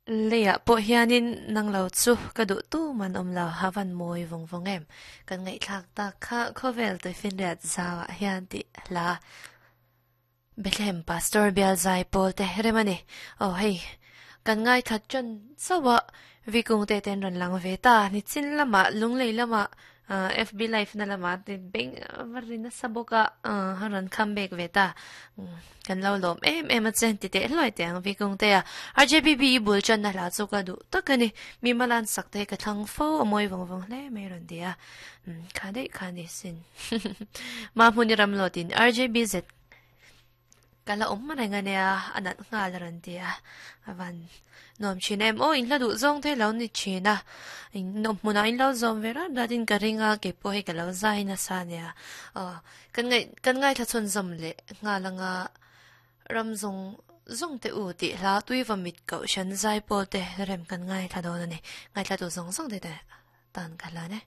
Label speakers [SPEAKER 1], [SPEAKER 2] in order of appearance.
[SPEAKER 1] Leiah pawh hianin nang lo chu ka duh tu man awm lo, a van mawi vawng vawng em? Kan ngaihthlak tak kha khawvel tuifinriat zauah hian tih hla Bethlehem Pastor bial zai pawl te rem a ni. Aw hei, kan ngaithla tan chauh a, Vikung te ten rawn lang ve ta, nichin lamah Lunglei lamah FB live na lamah te beng va ri nasa bawk a, a rawn come back ve ta. Kan lo lawm em em a che ti teh hluai teh ang Vikung te a. RJBB i bul channa hla chu ka duh tak a ni. Mi malan sak te ka thlang fo a mawi vawng vawng hle mai rawn ti a. Kha daih kha ni sin. Mahmuni ramlawtin RJBZ Ka la awm reng a nia, a nat nghal a rawn ti a, a van nuam thin em aw, in hla duh zawng te lo ni thin a, in nawm hmunah in lo zawm ve rat rat in ka ring a, kei pawh hei ka lo zai nasa a nia, aw kan ngaih kan ngaithla chhunzawm leh nghal anga ram zawng zawng te u tih hla tui va mit koh hran zai pawl te rem kan ngaithla dawn a ni, ngaithla tu zawng zawng te tan ka hlan e.